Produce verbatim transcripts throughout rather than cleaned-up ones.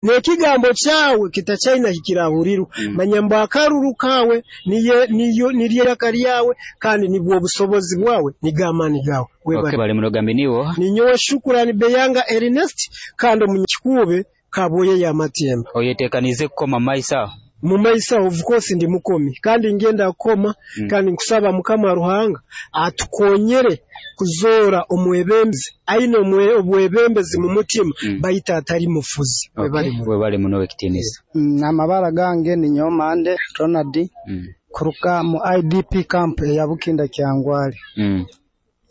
N'ekigambo kyawe kitakyaina hikirahurirwa. Mm. Manya mbu akaruru kaawe niye niyo niryo iraka lyawe, kandi nibwo obusobozi bwawe, nigo amaani gaawe. Okay, Webale. bali munogambe niwo. Ninyowe Shukurani Beyanga Ernest, kandi omunyakikuube Kaboye y'Amatemba. Oyetekanize kukoma maiso aho? Mu maiso aho, of course, ndi mukomi kandi ngenda kukoma. Mm. Kandi nkusaba Mukama Ruhanga atukonyere kuzoora omwebembezi aine omwe- obwebembezi mu mutima, Mm. baitu atali mufuzi. Okay. Webale muno. Webale muno ekitiinisa. Mm, amabara gange ninyowe Mande Ronald, Mm. kuruga mu I D P camp eya Bukinda Kyangwali. Mm.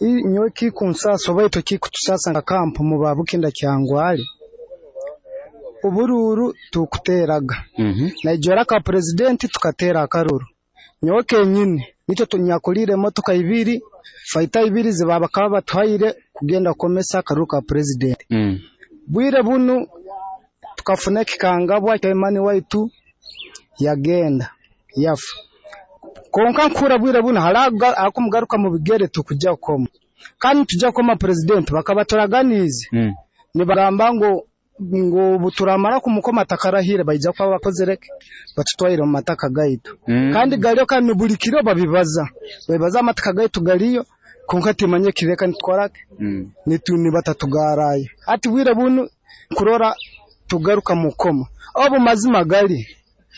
I- nyowe kikunsasa oba itwe kikutusasa nka camp mu ba Bukinda Kyangwali, oburuuru tukuteraga. Mhm. Naijwera ka president tukatera akaruru. Nyowe kenyini nitwe tunyakulire emotoka ibiri, fighter ibiri ziba bakaba batuhaire kugenda kukomesa akaruru ka president. Mm. Bwire bunu tukafuna ekikangabwa, chairman waitu yagenda yafa. Konka nkura bwire buno haraga akumugaruka mu bigere, tukujja kukoma kandi tujja kukoma president bakaba turaganize. Mm. Nibagamba ngo ngo buturamara kumukoma takarahire, baija kuba bakozereke batutwaire mu mataka gaitu. Mm. Kandi galiyo, kandi buli kiro babibaza, babibaza amataka gaitu galiyo, konka timanye kireka nitukorake. Mm. Nitu nibatatugarayo ati bwire bunu kurora tugaruka mukoma obu mazima gali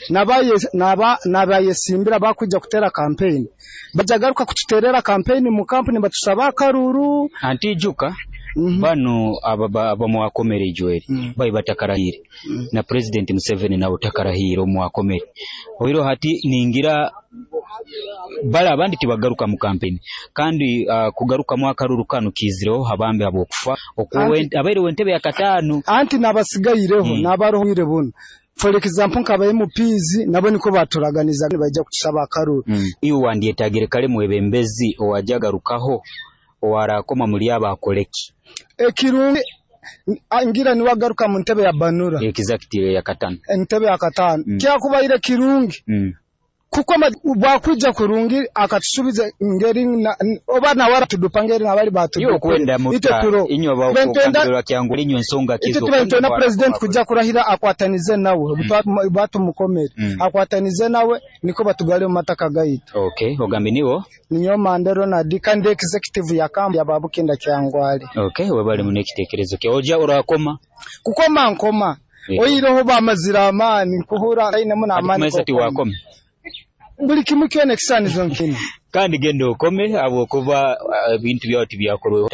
nabaye naba nabayesimbira bakujja kutera campaign, bajagaruka kututerera campaign mu kampuni batusaba akaruru. Anti ijuka, mm -hmm. banu aba abamwakomere ijweri mm. bayi batakarahire. mm. Na President Museveni nawe takarahire omwakomere oiro. Hati ningira bali abandi tibagaruka mu campaign, kandi uh, kugarukamu akaruru kanu kizireho habambe habwokufa Anti- abaire w'entebe ya kataano. Anti nabasigaireho, Mm. nabaroho bwire buno, for example nkaba M Ps nabo niko baturaganiza baija kutusaba akaruru. mm. iwe wandyetagire kale mwebembezi owajagarukaho owarakoma muli abo akoleki? Ekirungi a- ngira niwagaruka mu ntebe ya Banura. Executive ya katano. Entebe ya katano. Mm. Kyakubaire kirungi mm. kuko ma- bwakwija kurungi akatusubiza ngeri na, n- oba nawara tudupa ngeri nabali Iwe batudupa okwenda itwe muta turo inywe Bentenda- bakugambirwa kyangu inywe ensonga itwe kizo. tuba nitwenda president kujja kurahira akwatanize nawe. mm. Batumukomere, Mm. akwatanize nawe niko batugale mu mataka gaitu. Okay, ogambe niwo. Ninyo Mande Ronald, kandi executive ya kambi ya Babukinda Kyangwali. Okay, webale muno ekitekerezo kya oja orakoma. Kukoma nkoma. Eh. Oyireho bamazira amaani nkuhura ainemu n'amaani Ati kumesa g'okukoma. tiwakome. Buli kimu kyona ekisanizo nkina. Kandi genda okome habwokuba uh, ebintu byawe tibyakorweho.